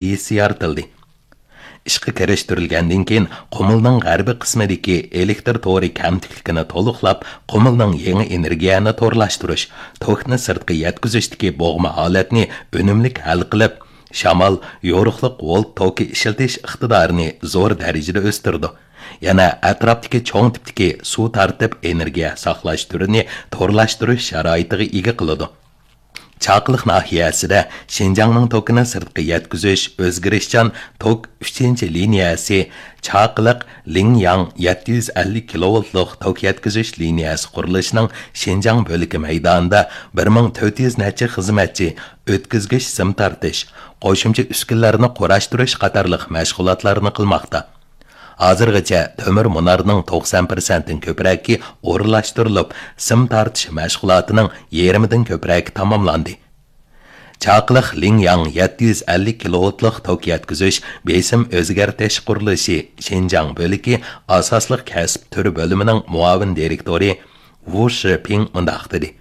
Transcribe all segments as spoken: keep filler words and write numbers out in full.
ئىسسىياسى يارىتىلدى. ئىشقا كىرىشتۈرۈلگەندىن كېيىن، قۇمۇلنىڭ غەربىي قىسمىدىكى ئېلېكتر تورى كەمتۈكلۈكىنى تولۇقلاپ، قۇمۇلنىڭ يېڭى ئېنېرگىيەنى تورلاشتۇرۇش، توكنى سىرتقا يەتكۈزۈشتىكى بوغما ھالەتنى ئۈنۈملۈك ھەل قىلىپ، شامال، يورۇقلۇق ۋولت توكى ئىشلىتىش ئىقتىدارىنى زور دەرىجىدە ئۆستۈرىدۇ. يەنە ئەتراپتىكى چوڭ تىپتىكى سۇ تارتىپ ئېنېرگىيە ساقلاش تۈرىنى تورلاشتۇرۇش شارائىتىغا ئىگە قىلىدۇ. چاقىلىق ناھىيەسىدە شىنجاڭنىڭ توكىنى سىرتقا يەتكۈزۈش ئۆزگىرىشچان توك ئۈچىنچى لىنىيەسى، چاقىلىق لىڭياڭ يەتتە يۈز ئەللىك كىلوۋولتلۇق توك يەتكۈزۈش لىنىيەسى قۇرۇلۇشىنىڭ شىنجاڭ بۆلىكى مەيدانىدا بىر مىڭ تۆت يۈز نەچچە خىزمەتچى ئۆتكۈزگۈچ سىم تارتىش، قوشۇمچە ئۈسكۈنىلەرنى قۇراشتۇرۇش قاتارلىق مەشغۇلاتلارنى قىلماقتا. ھازىرغىچە تۆمۈر مۇنارنىڭ توقسان پىرسەنتتىن كۆپرەكى ئورۇنلاشتۇرۇلۇپ، سىم تارتىش مەشغۇلاتىنىڭ يېرىمىدىن كۆپرەكى تاماملاندى. چاقىلىق لىڭياڭ يەتتە يۈز ئەللىك كىلوۋولتلۇق توك يەتكۈزۈش بېسىم ئۆزگەرتىش قۇرۇلۇشى شىنجاڭ بۆلىكى ئاساسلىق كەسىپ تۈرى بۆلۈمىنىڭ مۇئاۋىن دىرېكتورى ۋۇ شىپىڭ مۇنداق دېدى: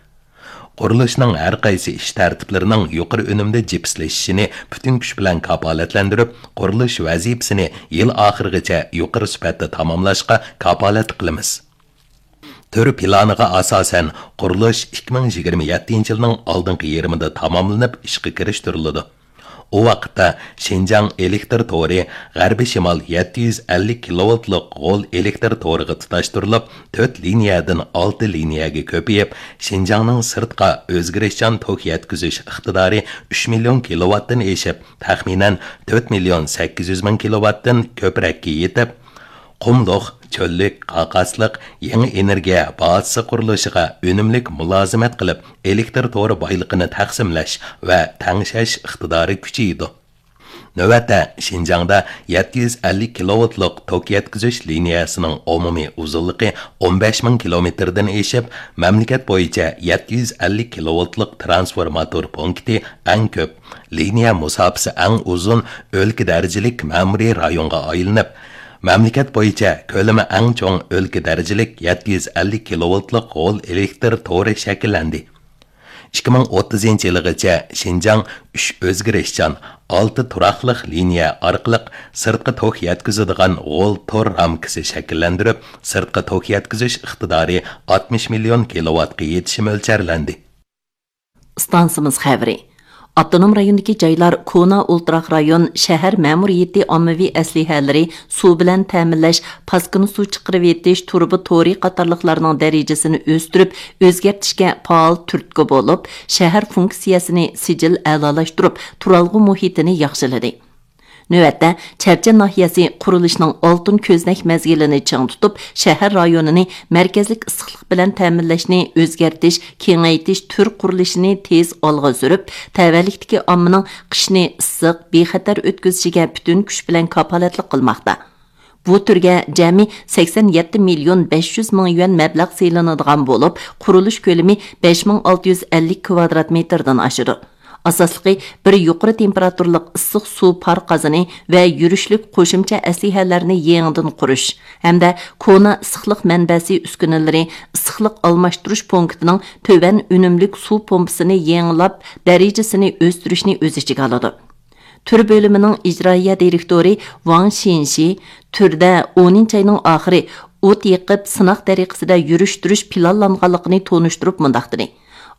قۇرۇلۇشنىڭ ھەر قايسى ئىش تەرتىپلىرىنىڭ يۇقىرى ئۈنۈمدە جىپسلىشىشىنى پۈتۈن كۈچ بىلەن كاپالەتلەندۈرۈپ، قۇرۇلۇش ۋەزىپىسىنى يىل ئاخىرىغىچە يۇقىرى سۈپەتتە تاماملاشقا كاپالەتلىك قىلىمىز. تۈر پىلانىغا ئاساسەن، قۇرۇلۇش ئىككى مىڭ يىگىرمە يەتتىنچى يىلنىڭ ئالدىنقى يېرىمىدا تاماملىنىپ ئىشقا كىرىشتۈرۈلىدۇ. ئۇ ۋاقىتتا شىنجاڭ ئېلېكتر تورى غەربىي شىمال يەتتە يۈز ئەللىك كىلوۋولتلۇق غول ئېلېكتر تورىغا تۇتاشتۇرۇلۇپ، تۆت لىنىيەدىن ئالتە لىنىيەگە كۆپىيىپ، شىنجاڭنىڭ سىرتقا ئۆزگىرىشچان توك يەتكۈزۈش ئىقتىدارى ئۈچ مىليون كىلوۋاتتىن ئېشىپ، تەخمىنەن تۆت مىليون سەككىز يۈز مىڭ كىلوۋاتتىن كۆپرەككە يېتىپ، قۇملۇق، چۆللۈك، قاقاسلىق، يېڭى ئېنېرگىيە بازىسى قۇرۇلۇشىغا ئۈنۈملۈك مۇلازىمەت قىلىپ، ئېلېكتر تورى بايلىقىنى تەقسىملەش ۋە تەڭشەش ئىقتىدارى كۈچىيىدۇ. نۆۋەتتە، شىنجاڭدا يەتتە يۈز ئەللىك كىلوۋولتلۇق توك يەتكۈزۈش لىنىيەسىنىڭ ئومۇمىي ئۇزۇنلۇقى ئون بەش مىڭ كىلومېتىردىن ئېشىپ، مەملىكەت بويىچە يەتتە يۈز ئەللىك كىلوۋولتلۇق ترانسفورماتور پونكىتى ئەڭ كۆپ، لىنىيە مۇساپىسى ئەڭ ئۇزۇن ئۆلكە دەرىجىلىك مەمۇرىي رايونغا ئايلىنىپ، مەملىكەت بويىچە كۆلىمى ئەڭ چوڭ ئۆلكە دەرىجىلىك يەتتە يۈز ئەللىك كىلوۋولتلۇق غول ئېلېكتر تورى شەكىللەندى. ئىككى مىڭ ئوتتۇزىنچى يىلىغىچە شىنجاڭ ئۈچ ئۆزگىرىشچان، ئالتە تۇراقلىق لىنىيە ئارقىلىق سىرتقا توك يەتكۈزىدىغان غول تور رامكىسى شەكىللەندۈرۈپ، سىرتقا توك يەتكۈزۈش ئىقتىدارى ئاتمىش مىليون كىلوۋاتقا يېتىشى مۆلچەرلەندى. ئىستانسىمىز خەۋىرى. ئاپتونوم رايوندىكى جايلار، كونا ئولتۇراق رايون، شەھەر مەمۇرىيىتى ئاممىۋى ئەسلىھەلىرى، سۇ بىلەن تەمىنلەش، پاسكىنا سۇ چىقىرىۋېتىش، تۇرۇبا تورى قاتارلىقلارنىڭ دەرىجىسىنى ئۆستۈرۈپ، ئۆزگەرتىشكە پائال تۈرتكە بولۇپ، شەھەر فۇنكسىيەسىنى سىجىل ئەلالاشتۇرۇپ، تۇرالغۇ مۇھىتىنى ياخشىلىدى. نۆۋەتتە، چەرچەن ناھىيەسى قۇرۇلۇشنىڭ ئالتۇن كۆزنەك مەزگىلىنى چىڭ تۇتۇپ، شەھەر رايونىنى مەركەزلىك ئىسسىقلىق بىلەن تەمىنلەشنى ئۆزگەرتىش، كېڭەيتىش تۈر قۇرۇلۇشىنى تېز ئالغا سۈرۈپ، تەۋەلىكتىكى ئاممىنىڭ قىشنى ئىسسىق، بىخەتەر ئۆتكۈزۈشىگە پۈتۈن كۈچ بىلەن كاپالەتلىك قىلماقتا. بۇ تۈرگە جەمئىي سەكسەن يەتتە مىليون بەش يۈز مىڭ يۈەن مەبلەغ سېلىنىدىغان بولۇپ، قۇرۇلۇش كۆلىمى بەش مىڭ ئالتە يۈز ئەللىك كىۋادرات مېتىردىن ئاشىدۇ. ئاساسلىقى، بىر يۇقىرى تېمپېراتۇرىلىق ئىسسىق سۇ پار قازىنى ۋە يۈرۈشلۈك قوشۇمچە ئەسلىھەلەرنى يېڭىدىن قۇرۇش ھەمدە كونا ئىسسىقلىق مەنبەسى ئۈسكۈنىلىرى ئىسسىقلىق ئالماشتۇرۇش پونكىتىنىڭ تۆۋەن ئۈنۈملۈك سۇ پومپىسىنى يېڭىلاپ، دەرىجىسىنى ئۆستۈرۈشنى ئۆز ئىچىگە ئالىدۇ. تۈر بۆلۈمىنىڭ ئىجرائىيە دىرېكتورى ۋاڭ شىنشى تۈردە ئونىنچى ئاينىڭ ئاخىرى ئوت يېقىپ، سىناق تەرىقىسىدە يۈرۈشتۈرۈش پىلانلانغانلىقىنى تونۇشتۇرۇپ مۇنداق دېدى: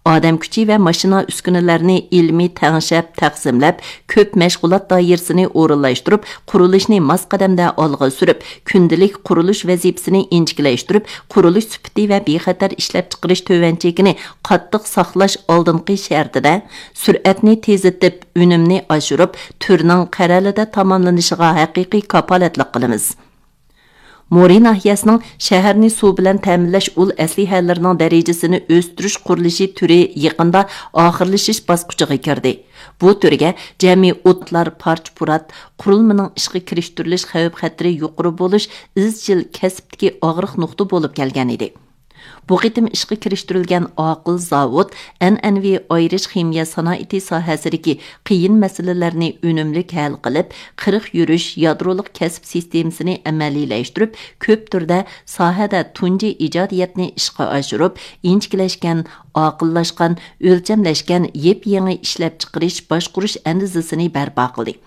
ئادەم كۈچى ۋە ماشىنا ئۈسكۈنىلەرنى ئىلمىي تەڭشەپ، تەقسىملەپ، كۆپ مەشغۇلات دائىرىسىنى ئورۇنلاشتۇرۇپ، قۇرۇلۇشنى ماس قەدەمدە ئالغا سۈرۈپ، كۈندىلىك قۇرۇلۇش ۋەزىپىسىنى ئىنچىكىلەشتۈرۈپ، قۇرۇلۇش سۈپىتى ۋە بىخەتەر ئىشلەپچىقىرىش تۆۋەن چېكىنى قاتتىق ساقلاش ئالدىنقى شەرتىدە، سۈرئەتنى تېزلىتىپ، ئۈنۈمنى ئاشۇرۇپ، تۈرنىڭ قەرەلىدە تاماملىنىشىغا ھەقىقىي كاپالەتلىك قىلىمىز. مورى ناھىيەسىنىڭ شەھەرنى سۇ بىلەن تەمىنلەش ئۇل ئەسلىھەلىرىنىڭ دەرىجىسىنى ئۆستۈرۈش قۇرۇلۇشى تۈرى يېقىندا ئاخىرلىشىش باسقۇچىغا كىردى. بۇ تۈرگە جەمئىي ئوتلار، پارچە-پۇرات، قۇرۇلمىنىڭ ئىشقا كىرىشتۈرۈلۈش خەۋپ-خەتىرى يۇقىرى بولۇش ئىزچىل كەسىپتىكى ئاغرىق نۇقتا بولۇپ كەلگەن ئىدى. بۇ قېتىم ئىشقا كىرىشتۈرۈلگەن ئاقىل زاۋۇت ئەنئەنىۋى ئايرىش خىمىيە سانائىتى ساھەسىدىكى قىيىن مەسىلىلەرنى ئۈنۈملۈك ھەل قىلىپ، قىرىق يۈرۈش يادرولۇق كەسىپ سىستېمىسىنى ئەمەلىيلەشتۈرۈپ، كۆپ تۈردە ساھەدە تۇنجى ئىجادىيەتنى ئىشقا ئاشۇرۇپ، ئىنچىكىلەشكەن، ئاقىللاشقان، ئۆلچەملەشكەن يېپيېڭى ئىشلەپچىقىرىش، باشقۇرۇش ئەندىزىسىنى بەرپا قىلدى.